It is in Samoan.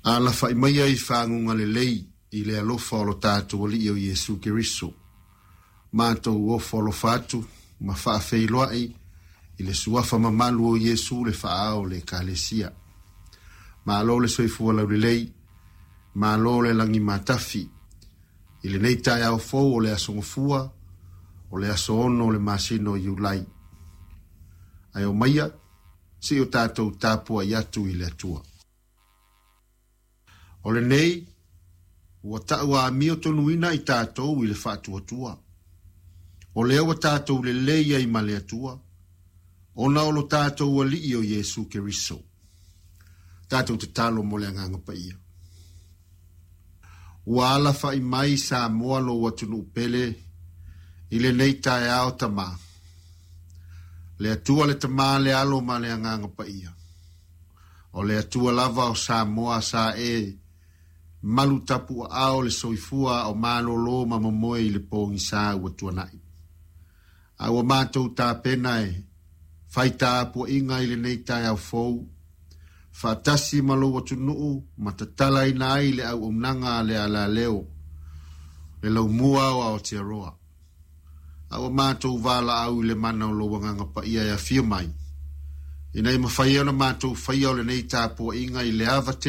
Alafa'i maia i faguga lelei i le alofa o lo tatou Alii o Iesu Keriso. Matou ofo alofa atu ma faafeiloai i le suafa mamalu o Iesu le faaao o le Ekalesia. Malo le soifua laulelei, malo le lagi matafi. I lenei taeao fou o le aso Gafua, o le aso 6 o le masina o Iulai. Ae omaia, se'i o tatou tapuai atu i le Atua. O lenei, ua ta'u amio tonuina i tatou i le faatuatua. O lea ua tatou lelei ai ma le Atua, ona o lo tatou Alii o Iesu Keriso. Tatou tatalo mo le Agaga Paia. Ua alafa'i mai Samoa lou atunuu pele i lenei taeao Tamā. Le Atua le Tamā le Alo ma le Agaga Paia. O le Atua lava o Samoa sa e malu tapuaao le soifua o malolo ma momoe i le pogisa ua tuana'i. A ua matou tapena e fai tapuaiga i lenei taeao fou, faatasi ma lou atunuu ma tatalaina ai le auaunaga a le alaleo, le laumua o Aotearoa. A ua matou valaau i le mana o lou Agaga Paia e afio mai, ina ia mafai ona matou faia o lenei tapuaiga i le ava tele.